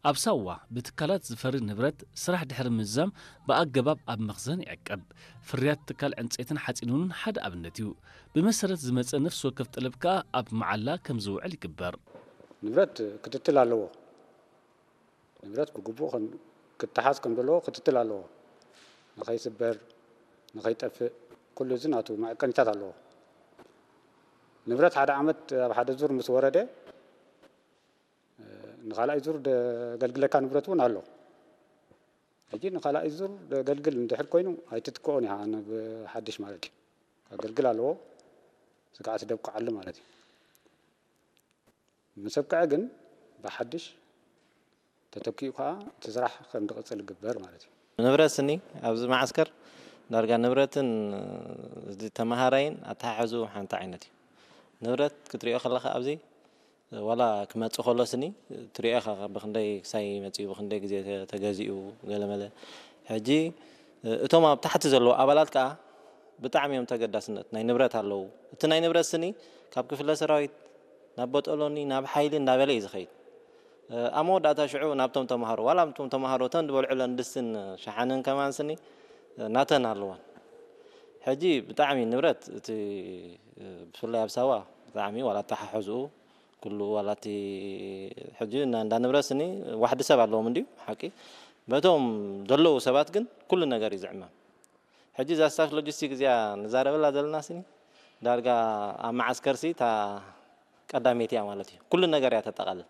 ኣብ ሳዋ ብትካላት ዝፈሪ ንብረት ስራሕ ድሕሪ ምዝዛም ብኣገባብ ኣብ መኽዘን ይዕቀብ። ፍርያት ትካል ዕንፀይትን ሓፂንን እውን ሓደ ኣብነት እዩ። ብመሰረት ዝመፀ ነፍሲ ወከፍ ጠለብ ከኣ ኣብ መዓላ ከም ዝውዕል ይግበር። ንብረት ክትትል ኣለዎ። ንብረት ብግቡእ ከም- ክተሓዝ ከም ዘለዎ ክትትል ኣለዎ። ንኸይስበር፣ ንኸይጠፍእ፣ ኩሉ እዚ ናቱ መዐቀኒታት ኣለዎ። ንብረት ሓደ ዓመት ኣብ ሓደ ዙር ምስ ወረደ፣ ንኻልኣይ ዙር ደገልግለካ ንብረት እውን ኣሎ። ሕጂ ንኻልኣይ ዙር ደገልግል እንድሕር ኮይኑ ኣይትትክኦን ኢኻ፣ ብሓድሽ ማለት እዩ። ከገልግል ኣለዎ፣ ስግኣት ደብቅዓሉ ማለት እዩ። ምስ ኣብቅዐ ግን ብሓድሽ ተተኪኡ ከዓ እቲ ስራሕ ከም ዝቕፅል ይግበር ማለት እዩ። ንብረት ስኒ ኣብዚ መዓስከር ዳርጋ ንብረትን እዚ ተመሃራይን ኣተሓሕዝኡ ሓንቲ ዓይነት እዩ። ንብረት ክትሪኦ ከለኻ ኣብዚ ዋላ ክመጽእ ከሎ ስኒ ትሪኦ ኢኻ ብኽንደይ ክሳይ መጺኡ ብኽንደይ ግዜ ተ- ተገዚኡ ገለመለ። ሕጂ እቶም ኣብ ታሕቲ ዘለዉ ኣባላት ከኣ ብጣዕሚ እዮም ተገዳስነት ናይ ንብረት ኣለዉ። እቲ ናይ ንብረት ስኒ ካብ ክፍለ ሰራዊት ናብ ቦጦሎኒ ናብ ሓይሊ እንዳበለ እዩ ዝኸይድ። ኣብ መወዳእታ ሽዑ ናብቶም ተምሃሮ ዋላ ኣብቶም ተምሃሮ እተን ዝበልዕለን ድስትን ሸሓንን ከማን ስኒ ናተን ኣለዋን። ሕጂ ብጣዕሚ ንብረት እቲ ብፍላይ ኣብ ሳዋ ብጣዕሚ ዋላ ኣተሓሕዝኡ ኩሉ ዋላ እቲ ሕጂ እና- እንዳ ንብረት ስኒ ዋሕዲ ሰብ ኣለዎም እንድዩ ሓቂ በቶም ዘለዉ ሰባት ግን ኩሉ ነገር እዩ ዝዕመም። ሕጂ እዛ ስታፍ ሎጂስቲክ እዚኣ ንዛረበላ ዘለና ስኒ ዳርጋ ኣብ መዓስከር ሲ እታ ቀዳመይቲ እያ ማለት እዩ። ኩሉ ነገር እያ ተጠቓልል።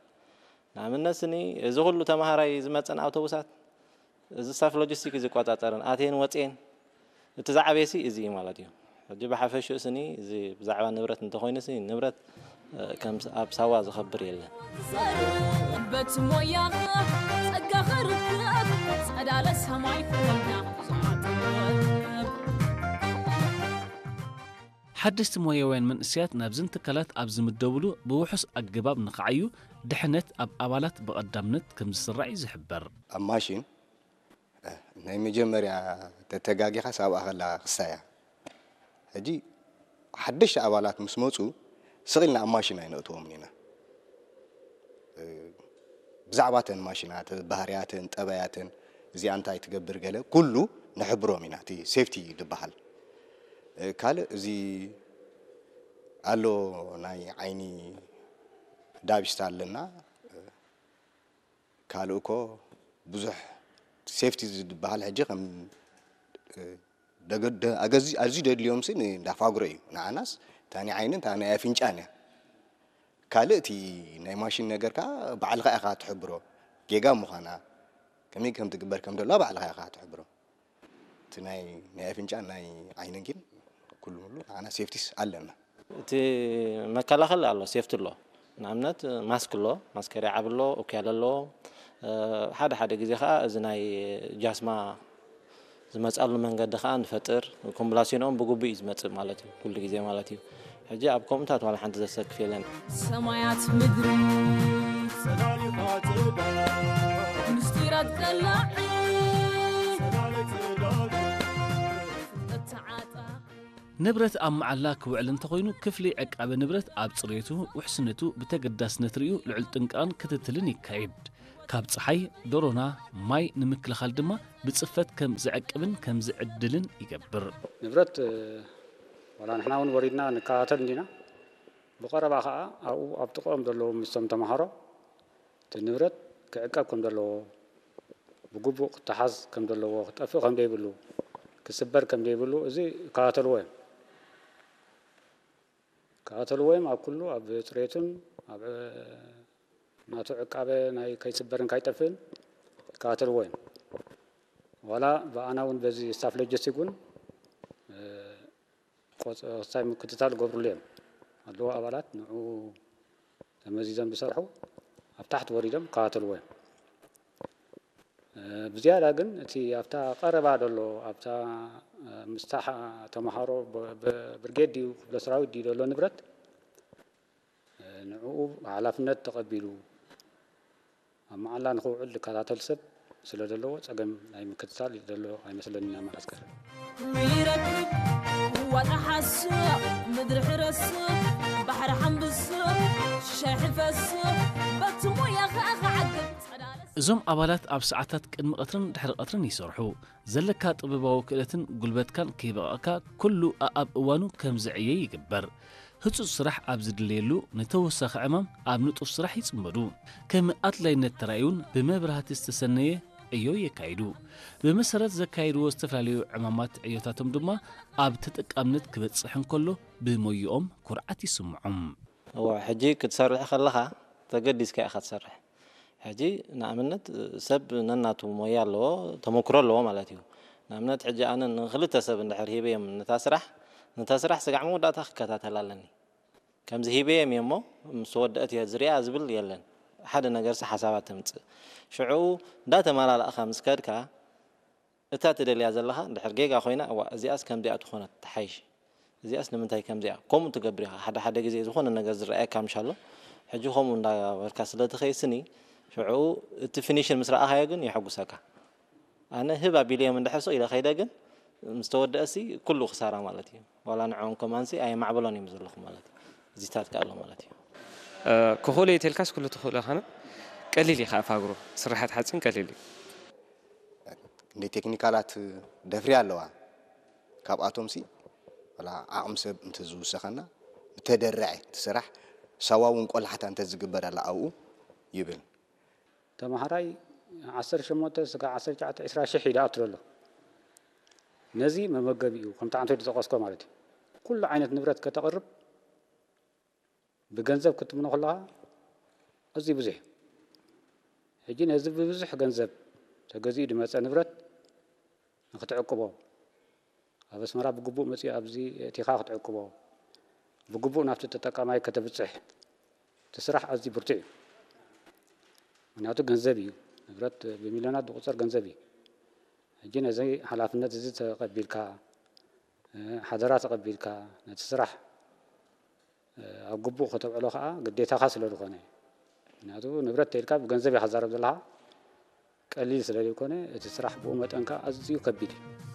ንኣብነት ስኒ እዚ ኩሉ ተምሃራይ ዝመፀን ኣውቶቡሳት እዚ ስታፍ ሎጂስቲክ እዩ ዝቆፃፀርን ኣትየን ወፅየን እቲ ዝዓበየ ሲ እዚ እዩ ማለት እዩ። ሕጂ ብሓፈሽኡ ስኒ እዚ ብዛዕባ ንብረት እንተኮይኑ ሲ ንብረት ከም ኣብ ሳዋ ዝኸብር የለን። በት ሞያኻ ጸጋኻ ርከብ ጸዳለ ሰማይ ክወልዳ ብዙሓት ጥበብ ሓደስቲ ሞያውያን መንእሰያት ናብዘን ትካላት ኣብ ዝምደብሉ ብውሑስ ኣገባብ ንኽዓዩ ድሕነት ኣብ ኣባላት ብቐዳምነት ከም ዝስራዕ እዩ ዝሕበር። ኣብ ማሽን ናይ መጀመርያ ተተጋጊኻ ሳብኣ ከላ ክሳያ ሕጂ ሓደሽቲ ኣባላት ምስ መፁ ስቕ ኢልና ኣብ ማሽን ኣይነእትዎምን ኢና። ብዛዕባ እተን ማሽናት ባህርያተን ጠባያተን እዚኣ እንታይ ትገብር ገለ ኩሉ ንሕብሮም ኢና እቲ ሴፍቲ ዝበሃል። ካልእ እዚ ኣሎ ናይ ዓይኒ ዳብስታ ኣለና። ካልእ እኮ ብዙሕ ሴፍቲ ዝበሃል ሕጂ ከም ኣዝዩ ደድልዮም ሲ እንዳፋግሮ እዩ ንዓናስ እታ ናይ ዓይንን እታ ናይ ኣፍንጫን እያ። ካልእ እቲ ናይ ማሽን ነገር ከዓ ባዕልኻ ኢኻ ትሕብሮ ጌጋ ምዃና ከመይ ከም ትግበር ከም ደለዋ ባዕልኻ ኢኻ ትሕብሮ። እቲ ናይ ናይ ኣፍንጫን ናይ ዓይንን ግን ኩሉ ሙሉ ንዓና ሴፍቲስ ኣለና። እቲ መከላኸሊ ኣሎ፣ ሴፍቲ ኣሎ። ንኣብነት ማስክ ኣሎ፣ ማስከርያ ዓቢ ኣሎ፣ ኦክያል ኣለዎ። ሓደ ሓደ ግዜ ከዓ እዚ ናይ ጃስማ ዝመፅኣሉ መንገዲ ከዓ ንፈጥር። ኮምብላሲኖኦም ብግቡእ እዩ ዝመፅእ ማለት እዩ፣ ኩሉ ግዜ ማለት እዩ። ሕጂ ኣብ ከምኡታት ዋላ ሓንቲ ዘሰክፍ የለን። ሰማያት ምድሪ ምስጢራት ቀላዕ ንብረት ኣብ መዓላ ክውዕል እንተኾይኑ ክፍሊ ዕቃበ ንብረት ኣብ ፅሬቱ፣ ውሕስነቱ ብተገዳስነት ርእዩ ልዑል ጥንቃቕን ክትትልን ይካየድ። ካብ ፀሓይ፣ ዶሮና፣ ማይ ንምክልኻል ድማ ብፅፈት ከም ዝዕቅብን ከም ዝዕድልን ይገብር። ንብረት ዋላ ንሕና እውን ወሪድና ንከታተል እንዲና። ብቐረባ ከዓ ኣብኡ ኣብ ጥቕኦም ዘለዉ ምስቶም ተምሃሮ እቲ ንብረት ክዕቀብ ከም ዘለዎ፣ ብግቡእ ክተሓዝ ከም ዘለዎ፣ ክጠፍእ ከም ዘይብሉ፣ ክስበር ከም ዘይብሉ እዚ ይከታተልዎ እዮም። ይከታተልዎ እዮም። ኣብ ኩሉ ኣብ ፅሬቱን ኣብ ናቱ ዕቃበ ናይ ከይስበርን ካይጠፍእን ይከታተልዎ እዮም። ዋላ ብኣና እውን በዚ ስታፍ ሎጂስቲክ እውን ክሳይ ምክትታል ገብሩሉ እዮም ኣለዉ ኣባላት ንዑ ተመዚዞም ዝሰርሑ ኣብ ታሕቲ ወሪዶም ይከታተልዎ እዮም። ብዝያዳ ግን እቲ ኣብታ ቀረባ ዘሎ ኣብታ ምስታ ተምሃሮ ብርጌድ ድዩ ክፍለ ሰራዊት ድዩ ዘሎ ንብረት ንዕኡ ሓላፍነት ተቐቢሉ ኣብ መዓላ ንኽውዕል ዝከታተል ሰብ ስለ ዘለዎ ጸገም ናይ ምክትታል ዘሎ ኣይመስለንን ኣብ መዓስከር። ይረክብ ዋጣ ሓስእ ምድሪ ሕረስእ ባሕሪ ሓምብስእ ሸሕፈስእ በቲ ሞያ ኸኣ ክዓግብ ጸዳለስ እዞም ኣባላት ኣብ ሰዓታት ቅድሚ ቀትርን ድሕሪ ቀትርን ይሰርሑ። ዘለካ ጥበባዊ ክእለትን ጉልበትካን ከይበቐቕካ ኩሉ ኣኣብ እዋኑ ከም ዝዕየ ይግበር። ህጹጽ ስራሕ ኣብ ዝድለየሉ ንተወሳኺ ዕማም ኣብ ንጡፍ ስራሕ ይጽመዱ። ከም ኣድላይነት ተራእዩን ብመብራህቲ ዝተሰነየ ዕዮ የካይዱ። ብመሰረት ዘካይድዎ ዝተፈላለዩ ዕማማት ዕዮታቶም ድማ ኣብ ተጠቃምነት ክበጽሕ እንከሎ ብሞይኦም ኩርዓት ይስምዖም። እወ፣ ሕጂ ክትሰርሕ ከለኻ ተገዲስካ ኢኻ ትሰርሕ። ሕጂ ንኣብነት ሰብ ነናቱ ሞያ ኣለዎ፣ ተመክሮ ኣለዎ ማለት እዩ። ንኣብነት ሕጂ ኣነ ንክልተ ሰብ እንድሕር ሂበዮም ነታ ስራሕ፣ ነታ ስራሕ ስጋዕ መወዳእታ ክከታተላ ኣለኒ። ከምዚ ሂበዮም እየ እሞ ምስ ተወደአት እየ ዝሪኣ ዝብል የለን። ሓደ ነገርሲ ሓሳባት ተምጽእ። ሽዑ እንዳተመላላእኻ ምስ ከድካ እታ ትደልያ ዘለኻ እንድሕር ጌጋ ኮይና፣ እዋ እዚኣስ ከምዚኣ ትኾነት ትሓይሽ፣ እዚኣስ ንምንታይ ከምዚኣ ከምኡ ትገብር ኢኻ። ሓደ ሓደ ግዜ ዝኾነ ነገር ዝረኣየካ ምሻሎ፣ ሕጂ ከምኡ እንዳበርካ ስለ ትኸይስኒ ሽዑ እቲ ፊኒሽን ምስ ረኣኻዮ ግን የሐጉሰካ። ኣነ ህብ ኣቢለዮም እንድሕር ስቕ ኢለ ከይደ ግን ምስ ተወደእሲ ኩሉ ክሳራ ማለት እዩ። ዋላ ንዕኦም ከማንሲ ኣየማዕብሎን እዮም ዘለኹ ማለት እዩ። እዚታት ከ ኣሎ ማለት እዩ። ክኽእሎ እየ ተልካስ ኩሉ ትኽእሎ ኸነ ቀሊል እዩ። ከኣ ፋግሮ ስራሓት ሓፂን ቀሊል እዩ። እንደ ቴክኒካላት ደፍሪ ኣለዋ። ካብኣቶም ሲ ወላ ዓቕሚ ሰብ እንተዝውሰኸና ብተደረዐ እቲ ስራሕ ሳዋ እውን ቆላሕታ እንተዝግበረላ ኣብኡ ይብል። ተምሃራይ ዓሰርተ ሸሞንተ ስጋዕ ዓሰርተ ትሽዓተ ዕስራ ሽሕ እዩ ዝኣቱ ዘሎ። ነዚ መመገቢኡ ከምቲ ዓንተ ዝጠቐስኮ ማለት እዩ። ኩሉ ዓይነት ንብረት ከተቕርብ ብገንዘብ ክትምኖ ከለኻ ኣዝዩ ብዙሕ እዩ። ሕጂ ነዚ ብብዙሕ ገንዘብ ተገዚኡ ዝመፀ ንብረት ንክትዕቅቦ ኣብ ኣስመራ ብግቡእ መፂኡ ኣብዚ እቲኻ ክትዕቅቦ ብግቡእ ናብቲ ተጠቃማይ ከተብፅሕ እቲ ስራሕ ኣዝዩ ብርቱዕ እዩ። ምክንያቱ ገንዘብ እዩ፣ ንብረት ብሚልዮናት ዝቁፀር ገንዘብ እዩ። ሕጂ ነዚ ሓላፍነት እዚ ተቐቢልካ ሓደራ ተቐቢልካ ነቲ ስራሕ ኣብ ግቡእ ከተብዕሎ ከዓ ግዴታኻ ስለ ዝኾነ ምክንያቱ ንብረት ተይልካ ብገንዘብ ኢኻ ትዛረብ ዘለኻ ቀሊል ስለ ዘይኮነ እቲ ስራሕ ብኡ መጠን ከዓ ኣዝዩ ከቢድ እዩ።